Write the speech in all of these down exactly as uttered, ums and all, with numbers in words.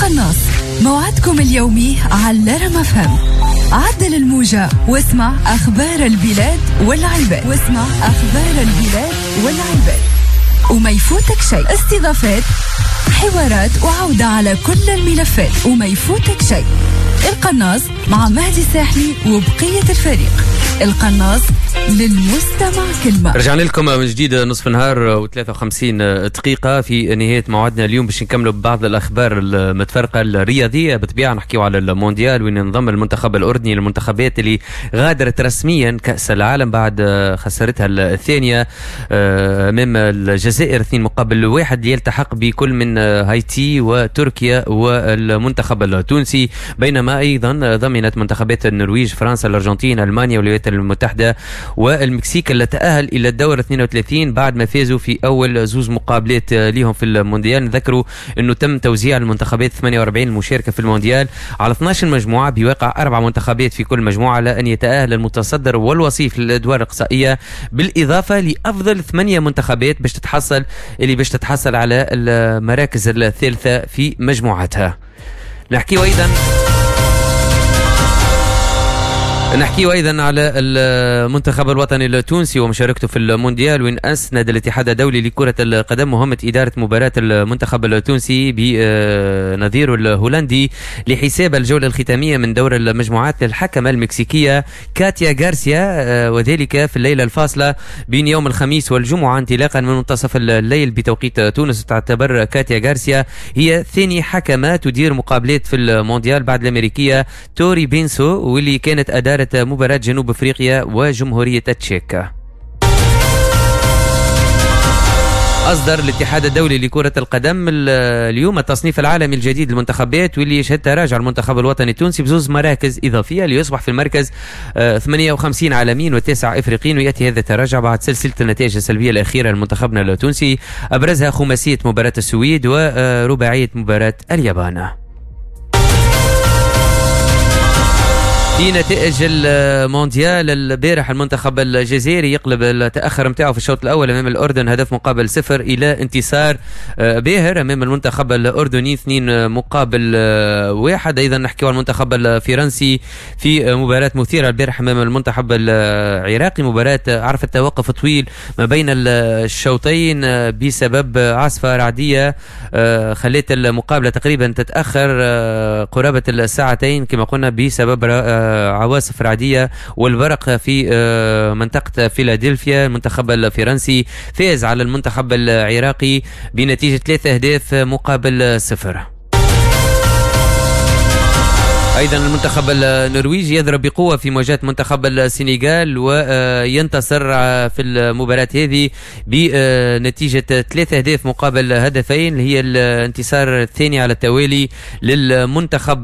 القناص موعدكم اليومي على رام اف ام. عدل الموجة واسمع أخبار البلاد والعباد، واسمع أخبار البلاد والعباد وما يفوتك شيء. استضافات، حوارات، وعودة على كل الملفات وما يفوتك شيء. القناص مع مهدي الساحلي وبقية الفريق. القناص للمستمع كلمة. رجعنا لكم من جديد نصف النهار وثلاثة وخمسين دقيقة في نهاية موعدنا اليوم باش نكملوا ببعض الأخبار المتفرقة الرياضية. بالطبيعة نحكيو على المونديال وين انضم المنتخب الأردني للمنتخبات اللي غادرت رسميا كأس العالم بعد خسارتها الثانية أمام الجزائر اثنين مقابل واحد، ليلتحق بكل من هايتي وتركيا والمنتخب التونسي. بينما أيضا ضمنت منتخبات النرويج، فرنسا، الأرجنتين، ألمانيا والولايات المتحدة والمكسيك اللي تأهل إلى الدور اثنين وثلاثين بعد ما فازوا في أول زوز مقابلات ليهم في المونديال. نذكروا أنه تم توزيع المنتخبات ثمانية وأربعين المشاركة في المونديال على اثناش مجموعة بواقع أربع منتخبات في كل مجموعة، على أن يتأهل المتصدر والوصيف للأدوار الإقصائية، بالإضافة لأفضل ثمانية منتخبات باش تتحصل اللي باش تتحصل على المراكز الثالثة في مجموعتها. نحكي أيضا نحكي أيضا على المنتخب الوطني التونسي ومشاركته في المونديال، وين أسند الاتحاد الدولي لكرة القدم مهمة إدارة مباراة المنتخب التونسي بنظيره الهولندي لحساب الجولة الختامية من دور المجموعات للحكمة المكسيكية كاتيا غارسيا، وذلك في الليلة الفاصلة بين يوم الخميس والجمعة انطلاقا من منتصف الليل بتوقيت تونس. تعتبر كاتيا غارسيا هي ثاني حكمة تدير مقابلات في المونديال بعد الأمريكية توري بينسو، واللي كانت أدارت مباراة جنوب افريقيا وجمهورية التشيك. أصدر الاتحاد الدولي لكرة القدم اليوم التصنيف العالمي الجديد للمنتخبات، واللي يشهد تراجع المنتخب الوطني التونسي بزوز مراكز إضافية ليصبح في المركز ثمانية وخمسين عالميا وتسعة إفريقيين. ويأتي هذا التراجع بعد سلسلة النتائج السلبية الأخيرة لمنتخبنا التونسي، أبرزها خماسية مباراة السويد ورباعية مباراة اليابان. في نتائج المونديال البارح المنتخب الجزائري يقلب التأخر متاعه في الشوط الأول أمام الأردن هدف مقابل صفر إلى انتصار باهر أمام المنتخب الأردني اثنين مقابل واحد. أيضا نحكي عن المنتخب الفرنسي في مباراة مثيرة البارح أمام المنتخب العراقي، مباراة عرفت توقف طويل ما بين الشوطين بسبب عاصفة رعدية خلت المقابلة تقريبا تتأخر قرابة الساعتين كما قلنا بسبب عواصف رعدية والبرق في منطقة فيلادلفيا. المنتخب الفرنسي فاز على المنتخب العراقي بنتيجة ثلاثة أهداف مقابل صفر. أيضا المنتخب النرويجي يضرب بقوة في مواجهة منتخب السنغال وينتصر في المباراة هذه بنتيجة ثلاثة أهداف مقابل هدفين، هي الانتصار الثاني على التوالي للمنتخب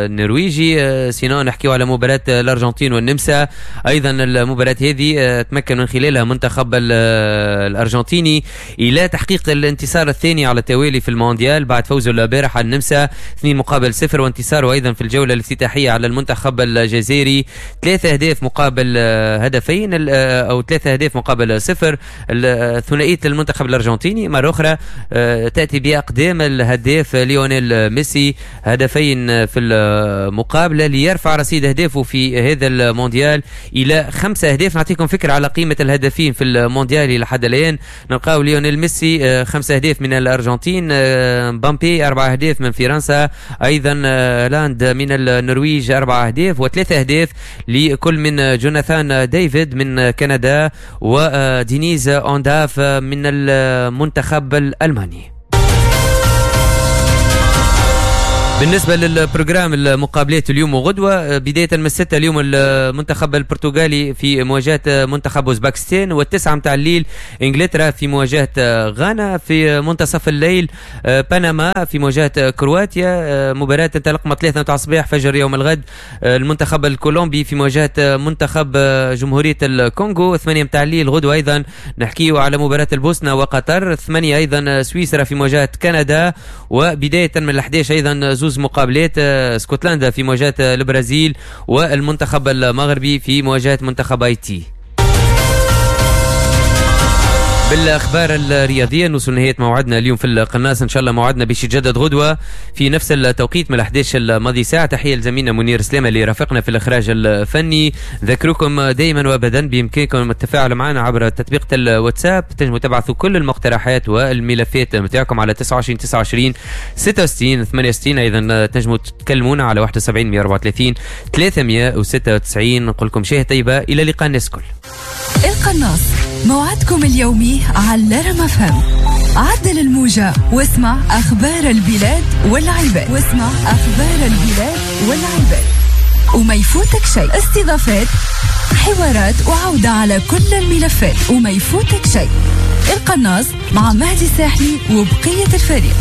النرويجي. sinon نحكيو على مباراة الأرجنتين والنمسا، أيضا المباراة هذه تمكن من خلالها منتخب الأرجنتيني إلى تحقيق الانتصار الثاني على التوالي في المونديال بعد فوزه البارح على النمسا اثنين مقابل صفر، وانتصار وأيضا في الجولة الافتتاحية على المنتخب الجزائري ثلاثة أهداف مقابل هدفين أو ثلاثة أهداف مقابل صفر. ثنائية المنتخب الأرجنتيني مرة أخرى تأتي بأقدام الهداف ليونيل ميسي، هدفين في المقابلة ليرفع رصيد أهدافه في هذا المونديال إلى خمسة أهداف. نعطيكم فكرة على قيمة الهدفين في المونديال لحد الآن. نلقاو ليونيل ميسي خمسة أهداف من الأرجنتين، مبابي أربعة أهداف من فرنسا، أيضا لاند من النرويج أربعة أهداف، وثلاثة أهداف لكل من جوناثان ديفيد من كندا ودينيز أونداف من المنتخب الألماني. بالنسبة لل programme المقابلات اليوم وغدوة، بداية من الستة اليوم المنتخب البرتغالي في مواجهة منتخب أوزباكستان، والتسعة متاع الليل إنجلترا في مواجهة غانا، في منتصف الليل بنما في مواجهة كرواتيا، مباراة تنطلق من ثلاثة متاع الصباح فجر يوم الغد المنتخب الكولومبي في مواجهة منتخب جمهورية الكونغو، ثمانية متاع الليل غدوة أيضا نحكيه على مباراة البوسنة وقطر، ثمانية أيضا سويسرا في مواجهة كندا، وبداية من الأحداش أيضا زوز مقابلات اسكتلندا في مواجهة البرازيل والمنتخب المغربي في مواجهة منتخب هايتي. بالاخبار الرياضية نوصل نهاية موعدنا اليوم في القناص. ان شاء الله موعدنا باش يتجدد غدوه في نفس التوقيت من أحد عشر الماضي ساعه. تحية لزميلنا منير سلامه اللي رافقنا في الاخراج الفني. ذكركم دائما وابدا بامكانكم التفاعل معنا عبر تطبيق الواتساب، تنجموا تبعثوا كل المقترحات والملفات نتاعكم على تسعة وعشرين تسعة وعشرين ستة وستين ثمانية وستين. ايضا تنجموا تكلمونا على واحد وسبعين مية وأربعة وثلاثين ثلاثمية وستة وتسعين. نقول لكم شهية طيبه، الى اللقاء الناس الكل. القناص موعدكم اليومي على رم أف أم. عدل الموجة واسمع أخبار البلاد والعباد، واسمع أخبار البلاد والعباد وما يفوتك شيء. استضافات، حوارات، وعودة على كل الملفات وما يفوتك شيء. القناص مع مهدي الساحلي وبقية الفريق.